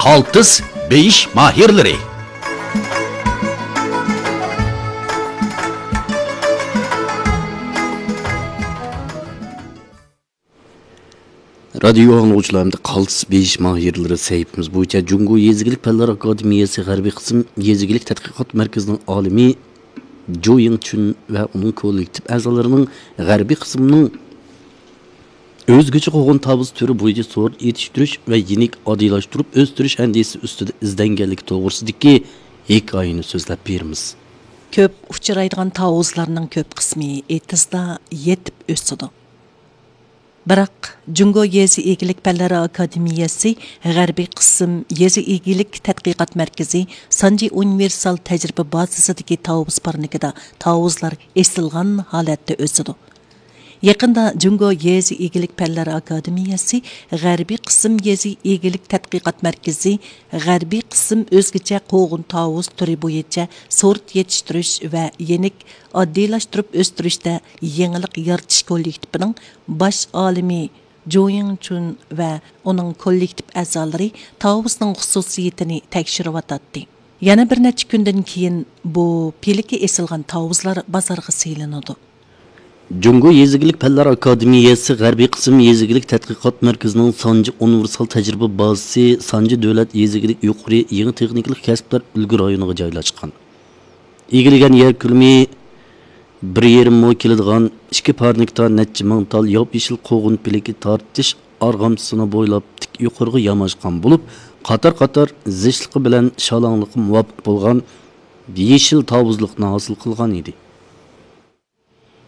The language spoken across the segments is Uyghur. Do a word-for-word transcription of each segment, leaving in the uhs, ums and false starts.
قالتىس بېيىش ماھىرلىرى. رادىيو ئاڭلىغۇچىلار، ئەمدى قالتىس بېيىش ماھىرلىرى سەھىپىمىز بويىچە جۇڭگو يېزا ئىگىلىك پەنلەر ئاكادېمىيەسى غەربىي قىسىم يېزا ئىگىلىك تەتقىقات مەركىزىنىڭ ئالىمى جو يىڭچۈن ۋە ئۇنىڭ كوللېكتىپ ئەزالىرىنىڭ غەربىي قىسىمنىڭ ئۆزگىچە قوغۇن تاۋۇز تۈرى بويىچە سورت يېتىشتۈرۈش ۋە يېنىك ئاددىيلاشتۇرۇپ ئۆستۈرۈش ئەندىزىسى ئۈستىدە ئىزدەنگەنلىكى توغرىسىدىكى ھېكايىنى سۆزلەپ بېرىمىز. كۆپ ئۇچرايدىغان تاۋۇزلارنىڭ كۆپ قىسمى ئېتىزدا يېتىپ ئۆسىدۇ. بىراق، جۇڭگو يېزا ئىگىلىك پەنلىرى ئاكادېمىيەسى غەربىي قىسىم يېزا ئىگىلىك تەتقىقات مەركىزى سانجى ئۇنىۋېرسال تەجرىبە بازىسىدىكى تاۋۇز پارنىكىدا تاۋۇزلار ئېسىلغان ھالەتتە ئۆسىدۇ. يېقىندا جۇڭگو يېزا ئىگىلىك پەنلىرى ئاكادېمىيەسى غەربىي قىسىم يېزا ئىگىلىك تەتقىقات مەركىزى غەربىي قىسىم ئۆزگىچە قوغۇن تاۋۇز تۈرى بويىچە سورت يېتىشتۈرۈش ۋە يېنىك ئاددىيلاشتۇرۇپ ئۆستۈرۈشتە يېڭىلىق يارىتىش كوللېكتىپىنىڭ باش ئالىمى جو يىڭچۈن ۋە ئۇنىڭ كوللېكتىپ ئەزالىرى تاۋۇزنىڭ خۇسۇسىيىتىنى تەكشۈرۈۋاتاتتى. يەنە بىر نەچچە كۈندىن كېيىن بۇ پىلىكى ئېسىلغان تاۋۇزلار بازارغا سېلىنىدۇ. جۇڭگو يېزا ئىگىلىك پەنلەر ئاكادېمىيەسى غەربىي قىسىم يېزا ئىگىلىك تەتقىقات مەركىزىنىڭ سانجى ئۇنىۋېرسال تەجرىبە بازىسى سانجى دۆلەت يېزا ئىگىلىك يۇقىرى يېڭى تېخنىكىلىق كەسىپلەر ئۈلگە رايونىغا جايلاشقان. ئىگىلىگەن يەر كۆلىمى بىر يېرىم مو كېلىدىغان ئىككى پارنىكتا نەچچە مىڭ تال ياپيېشىل قوغۇن پىلىكى تارتىش ئارغامچىسىنى بويلاپ تىك يۇقىرىغا ياماشقان بولۇپ، قاتار-قاتار زىچلىقى بىلەن شالاڭلىققا مۇۋاپىق بولغان يېشىل تاۋۇزلۇقنى ھاسىل قىلغان ئىدى.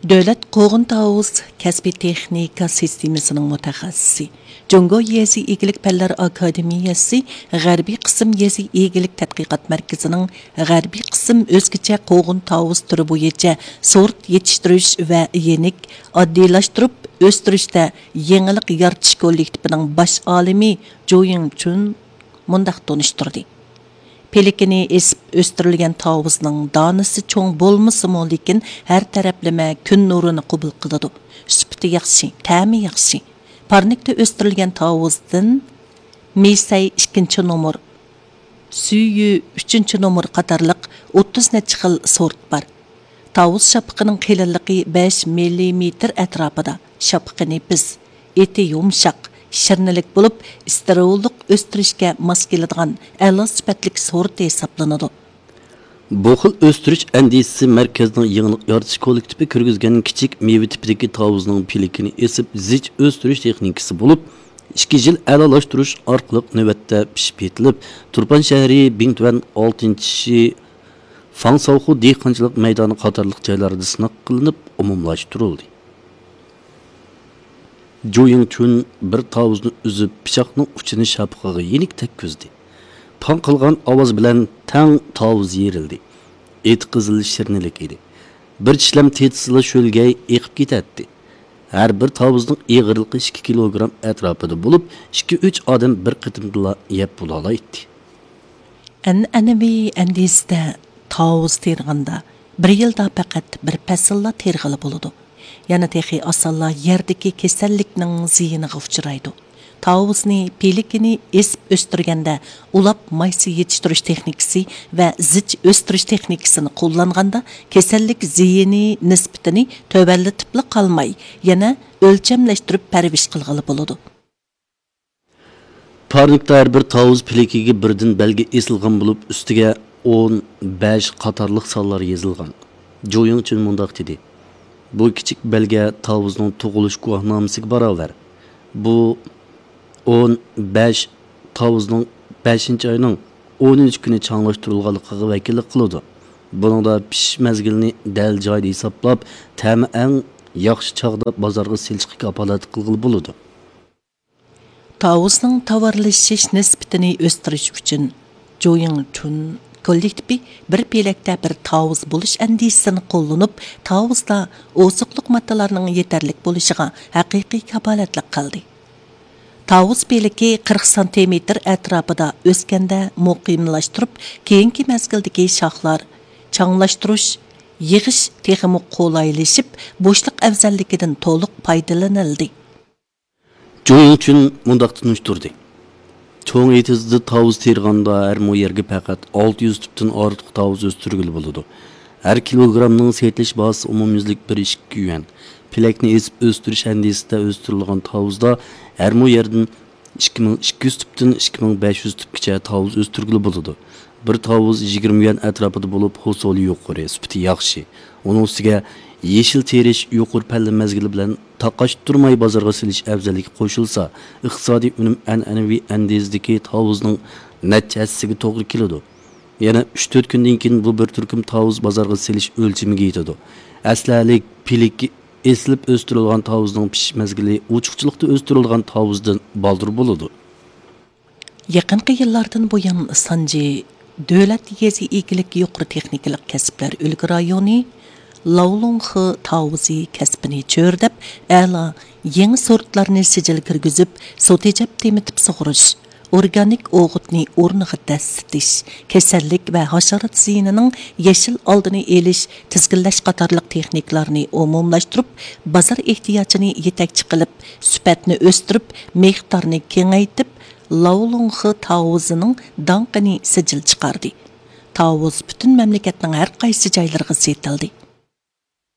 دۆلەت قوغۇن تاۋۇز كەسپىي تېخنىكا سىستېمىسىنىڭ مۇتەخەسسىسى، جۇڭگو يېزا ئىگىلىك پەنلەر ئاكادېمىيەسى غەربىي قىسىم يېزا ئىگىلىك تەتقىقات مەركىزىنىڭ غەربىي قىسىم ئۆزگىچە قوغۇن تاۋۇز تۈرى بويىچە سورت يېتىشتۈرۈش ۋە يېنىك ئاددىيلاشتۇرۇپ ئۆستۈرۈشتە يېڭىلىق يارىتىش كوللېكتىپىنىڭ باش ئالىمى جو يىڭچۈن مۇنداق تونۇشتۇردى. پىلىكىنى ئېسىپ ئۆستۈرۈلگەن تاۋۇزنىڭ دانىسى چوڭ بولمىسىمۇ، لېكىن ھەر تەرەپلىمە كۈن نۇرىنى قوبۇل قىلىدۇ. سۈپىتى ياخشى، تەمى ياخشى. پارنىكتا ئۆستۈرۈلگەن تاۋۇزدىن مىسەي ئىككىنچى نومۇر، سۈيۈ ئۈچىنچى نومۇر قاتارلىق ئوتتۇز نەچچە خىل سورت بار. تاۋۇز شاپىقىنىڭ قېلىنلىقى بەش مىللىمېتىر ئەتراپىدا. شاپىقى نېپىز، ئېتى يۇمشاق، شىرنىلىك بولۇپ، ئىستېرىللىق ئۆستۈرۈشكە ماس كېلىدىغان ئەلا سۈپەتلىك سورت ھېسابلىنىدۇ. بۇ خىل ئۆستۈرۈش ئەندىزىسى مەركەزنىڭ يېڭىلىق يارىتىش كوللېكتىپى كىرگۈزگەن كىچىك مېۋە تىپىدىكى تاۋۇزنىڭ پىلىكىنى ئېسىپ زىچ ئۆستۈرۈش تېخنىكىسى بولۇپ، ئىككى يىل ئەلالاشتۇرۇش ئارقىلىق نۆۋەتتە پىشىپ يېتىلىپ، تۇرپان شەھىرى، بىڭتۈەن ئالتىنچى فاڭساۋخۇ دېھقانچىلىق مەيدانى قاتارلىق جايلاردا سىناق قىلىنىپ ئومۇملاشتۇرۇلدى. جو يىڭچۈن بىر تاۋۇزنى ئۈزۈپ، پىچاقنىڭ ئۇچىنى شاپىقىغا يېنىك تەگكۈزدى. پاڭ قىلغان ئاۋاز بىلەن تەڭ تاۋۇز يېرىلدى. ئېتى قىزىل شىرنىلىك ئىدى. بىر چىشلەم تېتىسىلا شۆلگەي ئېقىپ كېتەتتى. ھەر بىر تاۋۇزنىڭ ئېغىرلىقى ئىككى كىلوگرام ئەتراپىدا بولۇپ، ئىككى-ئۈچ ئادەم بىر قېتىمدىلا يەپ بولالايتتى. ئەنئەنىۋى ئەندىزىدە تاۋۇز تېرىغاندا، بىر يىلدا پەقەت بىر پەسىللا تېرىغىلى بولىدۇ. يەنە تېخى ئاسانلا يەردىكى كېسەللىكنىڭ زىيىنىغا ئۇچرايدۇ. تاۋۇزنى، پىلىكىنى ئېسىپ ئۆستۈرگەندە، ئۇلاپ مايسا يېتىشتۈرۈش تېخنىكىسى ۋە زىچ ئۆستۈرۈش تېخنىكىسىنى قوللانغاندا، كېسەللىك زىيىنى نىسبىتىنى تۆۋەنلىتىپلا قالماي، يەنە ئۆلچەملەشتۈرۈپ پەرۋىش قىلغىلى بولىدۇ. پارنىكتا ھەر بىر تاۋۇز پىلىكىگە بىردىن بەلگە ئېسىلغان بولۇپ، ئۈستىگە ئون، بەش قاتارلىق سانلار يېزىلغان. جو يىڭچۈن مۇنداق دېدى: «بۇ كىچىك بەلگە تاۋۇزنىڭ تۇغۇلۇش گۇۋاھنامىسىگە باراۋەر. بۇ ئون بەش تاۋۇزنىڭ بەشىنچى ئاينىڭ ئونىنچى كۈنى چاڭلاشتۇرۇلغانلىقىغا ۋەكىللىك قىلىدۇ. بۇنىڭدا پىشىش مەزگىلىنى دەل جايىدا ھېسابلاپ، تەمى ئەڭ ياخشى چاغدا بازارغا سېلىشقا كاپالەتلىك قىلغىلى بولىدۇ.» تاۋۇزنىڭ تاۋارلىشىش نىسبىتىنى ئۆستۈرۈش ئۈچۈن، جو يىڭچۈن كوللېكتىپى بىر پېلەكتە بىر تاۋۇز بولۇش ئەندىزىسىنى قوللىنىپ، تاۋۇزدا ئوزۇقلۇق ماددىلارنىڭ يېتەرلىك بولۇشىغا ھەقىقىي كاپالەتلىك قىلدى. تاۋۇز پېلىكى قىرىق سانتىمېتىر ئەتراپىدا ئۆسكەندە مۇقىملاشتۇرۇپ، كېيىنكى مەزگىلدىكى شاخلار، چاڭلاشتۇرۇش، يىغىش تېخىمۇ قولايلىشىپ، بوشلۇق ئەۋزەللىكىدىن تولۇق پايدىلىنىلدى. جو يىڭچۈن مۇنداق تونۇشتۇردى: چوڭ ئېتىزدا تاۋۇز تېرىغاندا ھەر مو يەرگە پەقەت ئالتە يۈز تۈپتىن ئارتۇق تاۋۇز ئۆستۈرگىلى بولىدۇ. ھەر كىلوگرامنىڭ سېتىلىش باھاسى ئومۇميۈزلۈك بىر ئىككى يۈەن. پېلەكنى ئېسىپ ئۆستۈرۈش ئەندىزىسىدە ئۆستۈرۈلگەن تاۋۇزدا ھەر مو يەردىن ئىككى مىڭ ئىككى يۈز تۈپتىن ئىككى مىڭ بەش يۈز تۈپكىچە تاۋۇز ئۆستۈرگىلى بولىدۇ. بىر تاۋۇز يىگىرمە يۈەن ئەتراپىدا بولۇپ، ھوسۇلى يۇقىرى، سۈپىتى ياخشى. ئۇنىڭ ئۈستىگە يېشىل تېرىش يۇقىرى پەللە مەزگىلى بىلەن تاقاشتۇرماي بازارغا سېلىش ئەۋزەللىكى قوشۇلسا، ئىقتىسادىي ئۈنۈم ئەنئەنىۋى ئەندىزىدىكى تاۋۇزنىڭ نەچچە ھەسسىسىگە توغرا كېلىدۇ. يەنە ئۈچ تۆت كۈندىن كېيىن بۇ بىر تۈركۈم تاۋۇز بازارغا سېلىش ئۆلچىمىگە يېتىدۇ. ئەسلىھەلىك پىلىكى ئېسىلىپ ئۆستۈرۈلگەن تاۋۇزنىڭ پىشىش مەزگىلى ئوچۇقچىلىقتا ئۆستۈرۈلگەن تاۋۇزدىن بالدۇر بولىدۇ. يېقىنقى يىللاردىن بۇيان، سانجى دۆلەت يېزا ئىگىلىك يۇقىرى تېخنىكىلىق كەسىپلەر ئۈلگە رايونى لاۋلۇڭخې تاۋۇزى كەسپىنى چۆرىدەپ، ئەلا يېڭى سورتلارنى سىجىل كىرگۈزۈپ، سۇ تېجەپ تېمىتىپ سۇغۇرۇش، ئورگانىك ئوغۇتنى ئورنىغا دەسسىتىش، كېسەللىك ۋە ھاشارات زىيىنىنىڭ يېشىل ئالدىنى ئېلىش، تىزگىنلەش قاتارلىق تېخنىكىلارنى ئومۇملاشتۇرۇپ، بازار ئېھتىياجىنى يېتەكچى قىلىپ، سۈپەتنى ئۆستۈرۈپ، مىقدارنى كېڭەيتىپ، لاۋلۇڭخې تاۋۇزىنىڭ داڭقىنى سىجىل چىقاردى. تاۋۇز پۈتۈن مەملىكەتنىڭ ھەر قايسى جايلىرىغا سېتىلدى.